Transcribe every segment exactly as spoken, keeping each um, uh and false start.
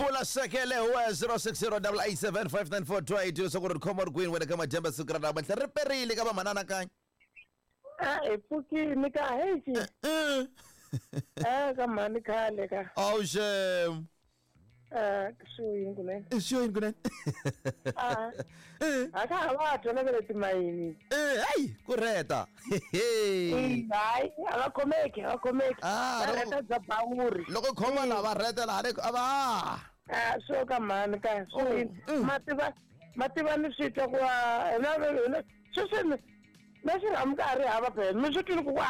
Mpfula sekele wa zero six zero double eight seven five nine four two eight so ku ri khoma ri kwini wena ka madyambe siku ra namuntlha ri perile ka vamanana kanye. A hi pfukini ka hexi. Eh ka mhani khale ka. Awu xem. Eh swi yini kunene. Swi yini kunene. Ah. A ka ha va twa na timayini. Eh hayi ku reta. Hayi a va khomeki a va khomeki. Ah reta bya bawuri. Loko khoma lava reta la a va. Ah swo ka mhani ka swi mativa mativa ni swi twa ku na na sweswi na xirhamu ka ri hava phela mi swi twile ku ku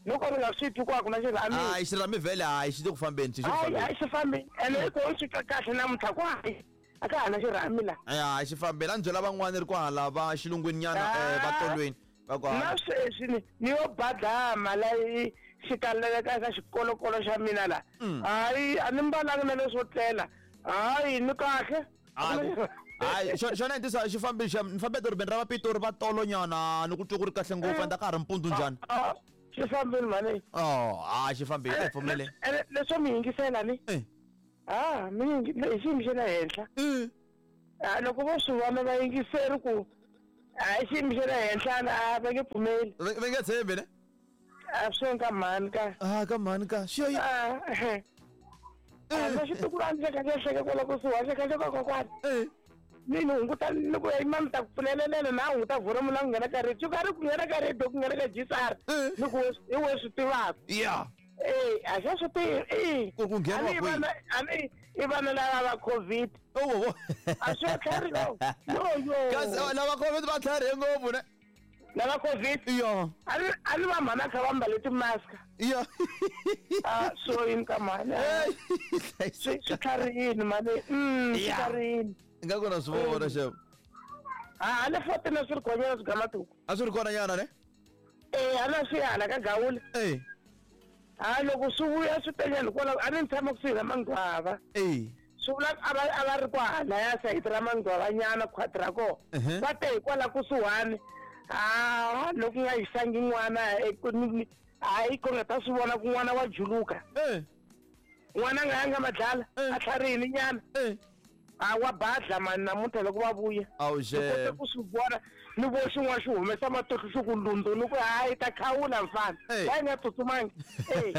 loko ri nga swi twi ku a ku na xirhami. Hayi xirhami vhele hayi xi le ku fambeni xi hayi hayi xi fambeni ene i ku swi twa kahle namuntlha ku hayi a ka ha na xirhami la. Hayi xi fambeni a ni byela van'wani ri kwahala va xilungwini nyana va tolweni va kwahala. Na sweswi ni ni yo badama la xi kaleleka eka xikolokolo xa mina la. Hayi a ni mbalanga na leswo tlela. Hayi ni kahle. Hayi xona i ntiyiso xi fambile xa ni fambe edorobeni ra va Pitori va tolo nyana ni ku twa ku ri kahle ngopfu ende a ka ha ri mpundzu njhani. Xi fambile mhani. Oh hayi xi fambile a hi pfumele. Leswo mi yingisela ni. Ah mi hi xiyimo xa le henhla. Ah loko vo swi vona va yingiseri ku a xiyimo xa le henhla a va nge pfumeli. Va nge tshembi ne. A swi ka mhani ka. Ah ka mhani ka xi yo. Ah na xitukulwana xa kahle hleke kwala kusuhi xa kahle ka kokwana. Ni ni hunguta ni ku mami ta ku pfulelelela na hunguta volume na ku nghena ka radio ka ri ku nghena ka radio ku nghena ka G S R ni ku hi we swi tivaka. Yeah. Eh a xa swi tivi eh ku ku nghena kwihi a ni i vana lava va COVID. Oh a swi tlhari no yo yo kasi lava COVID va tlharihe ngopfu ne. Lava COVID yo a ni a ni va mhana kha va mbale ti-mask. Yo ah so yini ka mhani swi swi tlharihini mhani mm swi tlharihini. Nga kona swi vona xevo. Ah a le fourteen a swi ri kona swi gamatuku. A swi ri kona nyana ne? Eh a na swi hala ka Gawula. Eh ha loko swi vuya swi tenyana kwala a ni tshama kusuhi na Mangwava. Eh swi vula a va a va ri kwahala ya sayiti ra Mangwava nyana khwati ra kona. Va te hikwala kusuhani. Ah loko nga yisangi n'wana hayi ku nga ta swi vona ku n'wana wa juluka. Eh n'wana nga yanga madlala a tlharihini nyana. Eh a wa badla mani namuntlha loko va vuya. Awu xe. Ni kote ku swi vona ni vo xin'wana xi humesa matihlo xi ku lundzu ni ku hayi ta khawula mfana. Wa yi nga tsutsumangi. Eh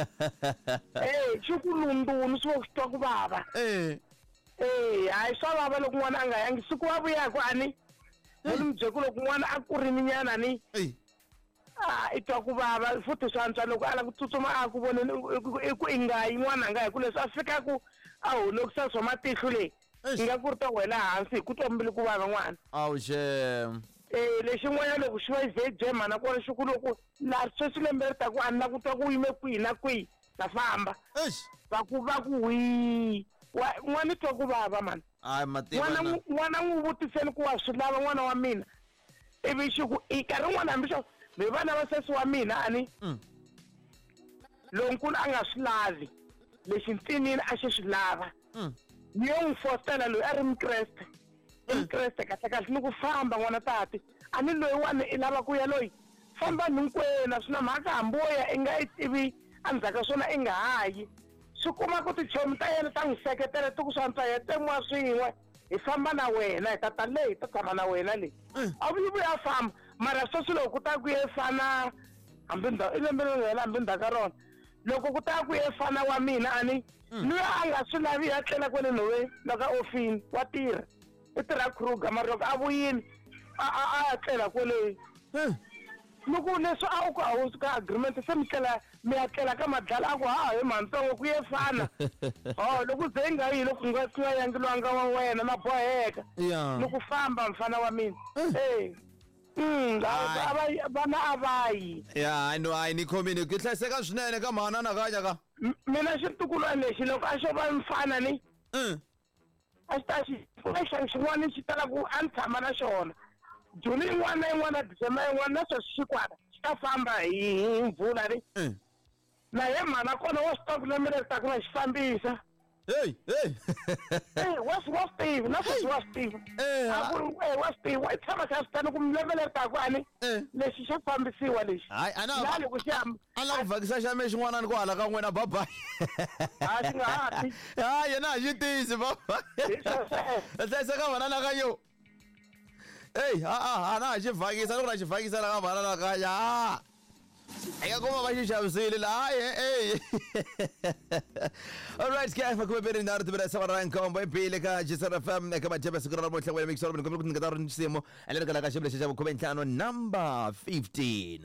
eh xi ku lundzu ni swi vo xi twa ku vava. Eh eh hayi swa vava loko n'wana a nga yangi siku wa vuyaku a ni ni mi byela ku loko n'wana a kurini nyana ni a i twa ku vava futhi swa antswa loko a lava ku tsutsuma a ku voneni i ku i nga yi n'wana a nga hi ku leswi a fikaku a holokisa swa matihlo leyi nga ku ri ta wela hansi hi ku twa mbilu ku vava n'wana. Awu xem. Eh lexin'wana loko xi va ze bye mhana kona xi ku loko la sweswi lembe ri ta ku a ni la ku twa ku yime kwihi na kwihi ta famba. Eish. Va ku va ku wi n'wana i twa ku vava mani. Hayi mativa n'wana n'wana n'wi vutiseni ku wa swi lava n'wana wa mina ivi xi ku i nkarhi wun'wana hambi xo mi vana va sesi wa mina a ni lonkulu a nga swi lavi lexi ntsinini a xi swi lava. Ni yo n'wi fostela loyi a ri mukreste i mukreste kahle kahle ni ku famba n'wana tati a ni loyiwani i lava ku ya loyi famba hinkwenu a swi na mhaka hambi wo ya i nga i tivi endzhaku ka swona i nga ha yi swi kuma ku tichomi ta yena ta n'wi seketela ti ku swa antswa hi tsemiwa swin'we hi famba na wena hi tata leyi hi ta tshama na wena leyi a vuyi vuya famba mara sweswi loko ku ta ku ye fana hambi ndhawu i lembe leri hela hambi ndzhaku ka rona loko ku ta ku ye fana wa mina a ni luya a nga swi lavi ya tlela kwale nhoveni loko a ofini wa tirha i tirha Kruger mara loko a vuyile a a a ya tlela kwale ni ku leswi a wu ku a wu ka agreement se mi tlela mi ya tlela ka madlala a ku ha hi mhantsongo ku ye fana oh loko ze i nga yi loko nga ku nga yangelwanga wa wena na boheka ni ku famba mfana wa mina eh mm a vana a va yi ya no hayi ni khomile ku hlayiseka swinene ka mhana na kanya ka mina xitukulwana lexi loko a xo va mfana ni a xi ta xi xa xin'wana xi tala ku a ni tshama na xona Juni yin'wana na yin'wana December yin'wana na sweswi xikwana xi ta famba hi mpfula ni na ye mhana kona wa swi tiva ku lembe leri taka na xi fambisa. Hey, hey. Eh, wa swi wa swi tiva na sweswi wa swi tiva. Eh, A ku ri eh, wa swi tiva i tshama kha swi tani ku lembe leri taka ani Eh. lexi xa fambisiwa lexi. Hayi, a na La loko xi hamba a na ku vhakisa xa me xin'wana ni ku hala ka n'wina bye-bye. a xi nga ha ti. Hayi, yena a xi tiyisi bye-bye. Hi sweswo. Hlayiseka vanana ka yo. Ey, a a a na ha xi vhakisa loko na xi vhakisa la ka vanana ka ya. Eka kuma va xi xavisile la hayi ey. All right, ke makume mbirhi nharhu timbirhi saba ra nkombo ebile ka G S R F M eka majebe siku ra namuntlha wena mixolo ni kombela ku nyiketa ri nsimu leri kalaka xivulexi xa vukhume ntlhanu number fifteen.